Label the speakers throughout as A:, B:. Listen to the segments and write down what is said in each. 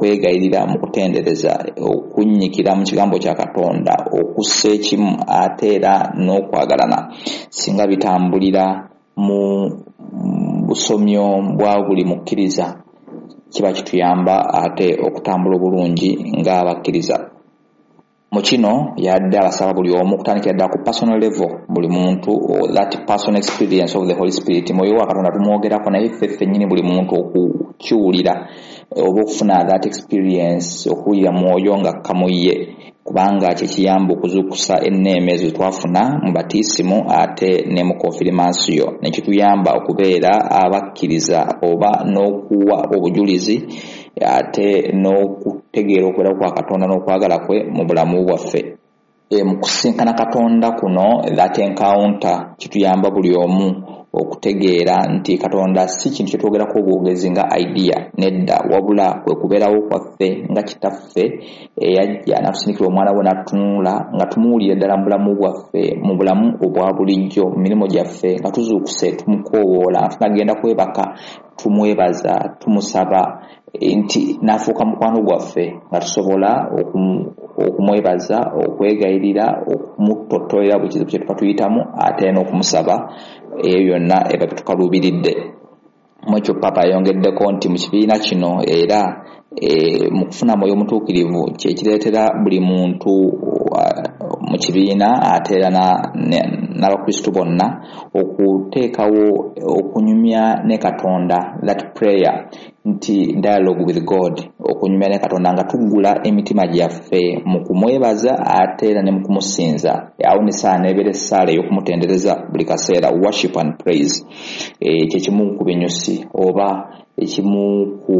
A: Okwegayirira mu kutendereza, okunnyikira mu kigambo kya Katonda, okussa ekimu ate era n'okwagalana, singa bitambulira mu busomyo bwa buli mukkiriza, kiba kituyamba ate okutambula obulungi ng'abakkiriza. Mu kino yadde abasaba buli omu okutandikira ddala ku personal level, buli muntu, that personal experience of the Holy Spirit. Mwoyo wa Katonda tumwogerako, naye ffe ffennyini buli muntu okukiwulira oba okufuna that experience, okuwulira mwoyo nga kamuye, kubanga kyekiyamba okuzuukusa enneema ezo twafuna mu batiisimu ate ne mu konfirimansiyo, nekituyamba okubeera abakkiriza oba n'okuwa obujulizi ate n'okutegeera okubeerawo kwa Katonda n'okwagala kwe mu bulamu bwaffe. Mu kusinkana Katonda kuno, that encounter, kituyamba buli omu okutegeera nti Katonda si kintu kyetwogerako obwogezi nga idea, nedda, wabula kwe kubeerawo kwaffe nga Kitaffe eyajja n'atusindikira omwana we n'atutunula, nga tumuwulira ddala mu bulamu bwaffe, mu bulamu obwa bulijjo, mu mirimu gyaffe, nga tuzuukuse tumukoowoola, nga tunagenda kwebaka tumwebaza, tumusaba nti n'afuuka mukwano gwaffe, nga tusobola okumwebaza, okwegayirira, okumutottolera buli kizibu kye tuba tuyitamu, ate n'okumusaba ebyo byonna eba bitukaluubiridde. Mu ekyo Papa yayongeddeko nti mu kibiina kino era mu kufuna Mwoyo Omutuukirivu kyekireetera buli muntu mu kibiina ate era n'Abakristu bonna okuteekawo okunyumya ne Katonda, that prayer, nti dialogue with God, okunyumya ne Katonda nga tuggula emitima gyaffe mu kumwebaza ate era ne mu kumusinza. Awo nesaala nebeera essaala ey'okumutendereza buli kaseera, worship and praise. Kyekimu ku binyusi oba ekimu ku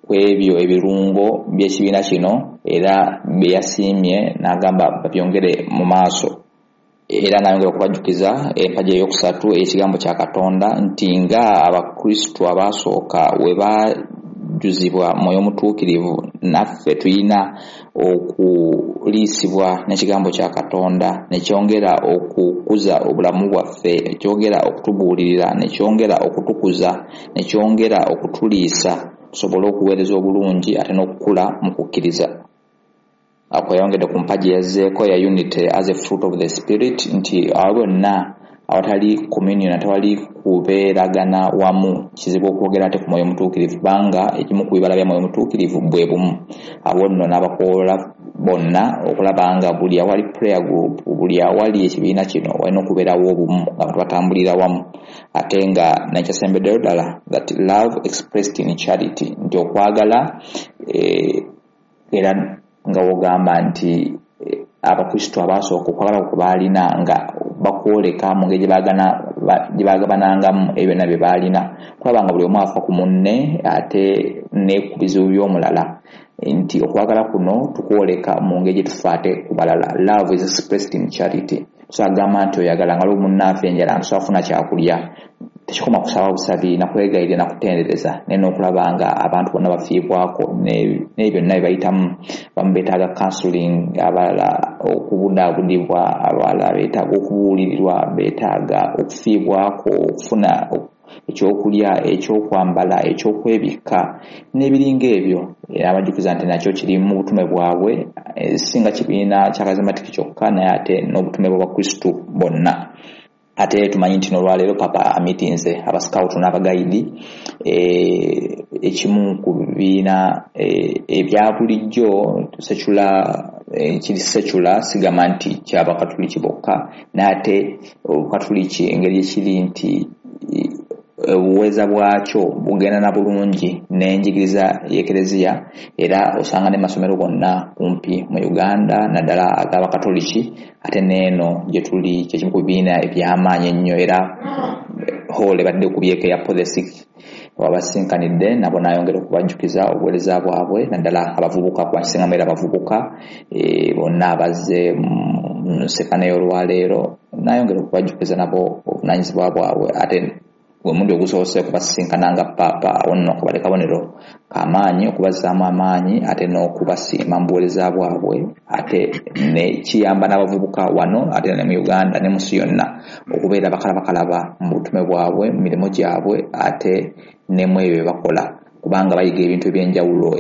A: ebyo ebirungo by'ekibiina kino, era bye yasiimye n'agamba babyongere mu maaso. Era n'ayongera okubajjukiza empagi eyokusatu ey'ekigambo kya Katonda, nti nga Abakristu abaasooka we bajjuzibwa Mwoyo Omutuukirivu, naffe tulina okuliisibwa n'ekigambo kya Katonda, nekyongera okukuza obulamu bwaffe, nekyongera okutubuulirira, nekyongera okutukuza, nekyongera okutuliisa, tusobole okuweereza obulungi ate n'okukula mu kukkiriza. Ako yayongedde ku mpagi yazzeeko ya unity as a fruit of the Spirit, nti awo bonna awatali communion, atawali kubeeragana wamu, kizibu okwogera ate ku Mwoyo Omutuukirivu, kubanga ekimu ku bibala bya Mwoyo Omutuukirivu bwe bumu. Awo nno n'abakoola bonna okulaba nga buli awali prayer group, buli awali ekibiina kino, walina okubeerawo obumu nga abantu batambulira wamu. Ate nga nekyasembeddeyo ddala, that love expressed in charity, nti okwagala era nga wogamba nti Abakristu abaasooka okwagala kwe baalina nga bakwoleka mu ngeri gye bagabanangamu ebyo byonna bye baalina, kulaba nga buli omu afa ku munne ate ne ku bizibu by'omulala, nti okwagala kuno tukwoleka mu ngeri gye tufa ate ku balala. Love is expressed in charity. So agamba nti oyagala nga lwo munnaafe enjala, ntusobola kufuna kyakulya, tekikoma kusaba busabi nakwegayirira nakutendereza, naye n'okulaba nga abantu bonna bafiibwako n'ebyo byonna bye bayitamu. Bamu beetaaga counseling, abalala okubudaabudibwa, abalala beetaaga okubuulirirwa, beetaaga okufiibwako, okufuna ekyokulya, ekyokwambala, ekyokwebikka n'ebiringa ebyo. Era abajjukiza nti nakyo kiri mu butume bwabwe, si nga kibiina kya Charismatic kyokka, naye ate n'obutume bw'Abakristu bonna. Ate tumanyi nti n'olwaleero Papa amitinze abasikawutu n'abagayidi, ekimu ku bibiina ebya bulijjo secular, kiri secular, sigamba nti kyabakatuliki bokka, naye ate obukatuliki engeri ekiri nti obuweereza bwakyo bugenda na bulungi n'enjigiriza y'Ekereziya, era osanga ne masomero gonna kumpi mu Uganda, naddala ag'Abakatoliki, ate n'eno gye tuli kyekimu ku bibiina eby'amaanyi ennyo. Era hall ebadde kubyeko eya Paul the Sixth, wabasinkanidde nabo n'ayongera okubajjukiza obuweereza bwabwe, naddala abavubuka, kuba nkisingamu era abavubuka bonna abazze mu nsekano y'olwaleero, n'ayongera okubajjukiza nabo obuvunaanyizibwa bwabwe. Ate omulundi ogusoose okubasisinkana nga Paapa, awo nno kabadde kabonero kamaanyi okubazzaamu amaanyi ate n'okubasiima mu buweereza bwabwe, ate ne kiyamba n'abavubuka wano ate ne mu Uganda ne mu nsi yonna okubeera bakalabakalaba mu butume bwabwe, mu mirimu gyabwe, ate ne mu ebyo bye bakola, kubanga bayiga ebintu ebyenjawulo.